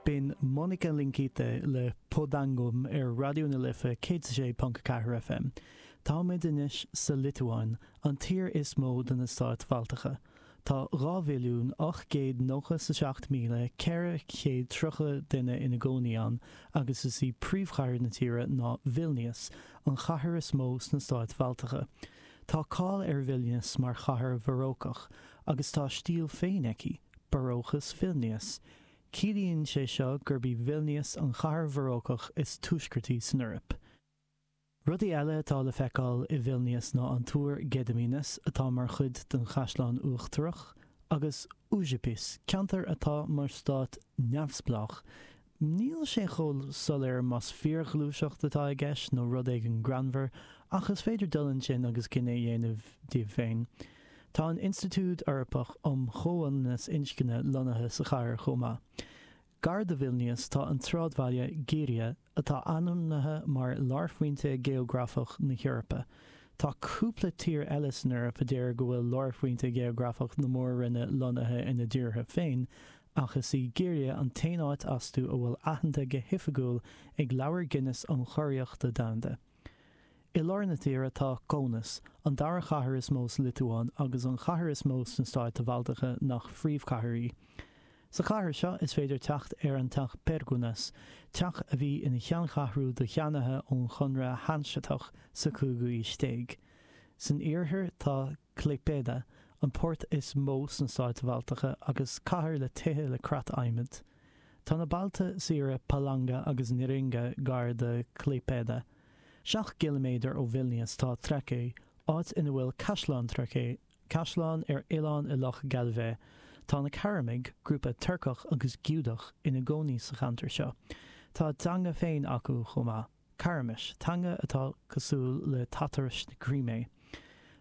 B'in Monika Linkytė le Po Dangum ar Raidió na Life 106.4 FM. Táimid anois sa Liotuáin, an tír is mó de na stáit Bhaltacha. Tá 2,897,430 duine ina gcónaí ann agus is í príomhchathair na tíre ná Vilnius, an chathair is mó sna stáit Bhaltacha. Tá cáil ar Vilnius mar chathair Bharócach agus tá a stíl féin aici, Barócas Vilnius. Ciallaíonn sé seo gurb í Vilnius an chathair Bharócach is tuaisceartaí san Eoraip. Rudaí eile atá le feiceáil i Vilnius ná an Túr Gediminas, atá mar chuid den Chaisleán Uachtarach, agus Užupis, ceantar atá mar stát neamhspleách. Níl sé chomh soiléir más fíorghluaiseacht atá i gceist nó rud éigin greannmhar, ach is féidir dul ansin agus cinneadh a dhéanamh daoibh féin. Tá an Institiúid Eorpach um Chomhionannas Inscne lonnaithe sa chathair chomh maith. Gar do Vilnius tá an tsráidbhaile Giria, atá ainmnithe mar lárphointe geografach na hEorpa. Tá cúpla tír eile san Eoraip a deir go bhfuil lárphointe geografach na mór-roinne lonnaithe ina dtíortha féin, ach is í Giria an t-aon áit astu a bhfuil aitheanta go hoifigiúil ag Leabhar Guinness um Churaíochta Domhanda. I lár na tíre tá Kaunas, an dara chathair is mó sa Liotuáin agus an chathair is mó sna stáit Bhaltacha nach phríomhchathair í. Sa chathair seo is féidir teacht ar an Teach Perkūnas, teach a bhí ina cheanncheathrú do cheannaithe ón Chonradh Hanseatach sa chúigiú aois déag. San iarthar tá Klaipėda, an port is mó sna stáit Bhaltacha agus cathair le tithe le creat adhmaid. Tá na bailte saoire Palanga agus Neringa gar do Klaipėda. 7 gciliméadar ó Vilnius tá Trakai, áit ina bhfuil Caisleán Trakai, caisleán ar oileán i Loch Galvė. Tá na Caramaigh, grúpa Turcach agus Giúdach, ina gcónaí sa cheantar seo. Tá a dteanga féin acu chomh maith. Caraimis, teanga atá cosúil le Tatairis na Crimé.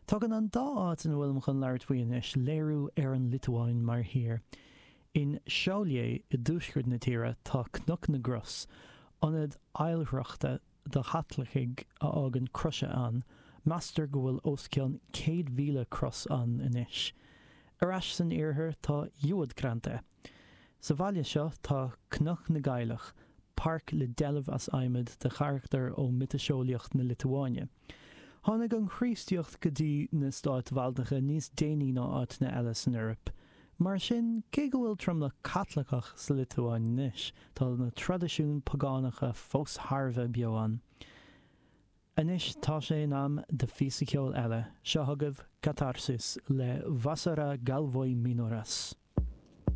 Tugann an dá áit ina bhfuilim chun labhairt faoi anois léiriú ar an Liotuáin mar thír. In Šiauliai i dtuaisceart na tíre tá Cnoc na gCros, ionad oilithreachta do Chaitlicigh a fhágann croise ann, meastar go bhfuil os cionn 100,000 cros ann anois. Ar ais san iarthar tá Juodkrantė. Sa bhaile seo tá Cnoc na gCailleach, páirc le deilbh as adhmad de charachtair ó mhiotaseolaíocht na Liotuáine. Tháinig an Chríostaíocht go dtí na stáit Bhaltacha níos déanaí ná áiteanna eile san Eoraip. Mar sin, cé go bhfuil tromlach Caitliceach sa Liotuáin anois, tá na traidisiúin pagánacha fós thar a bheith beo ann. Anois tá sé in am do phíosa ceoil eile. Seo chugaibh Katarsis le Vasara Galvoj Minoras.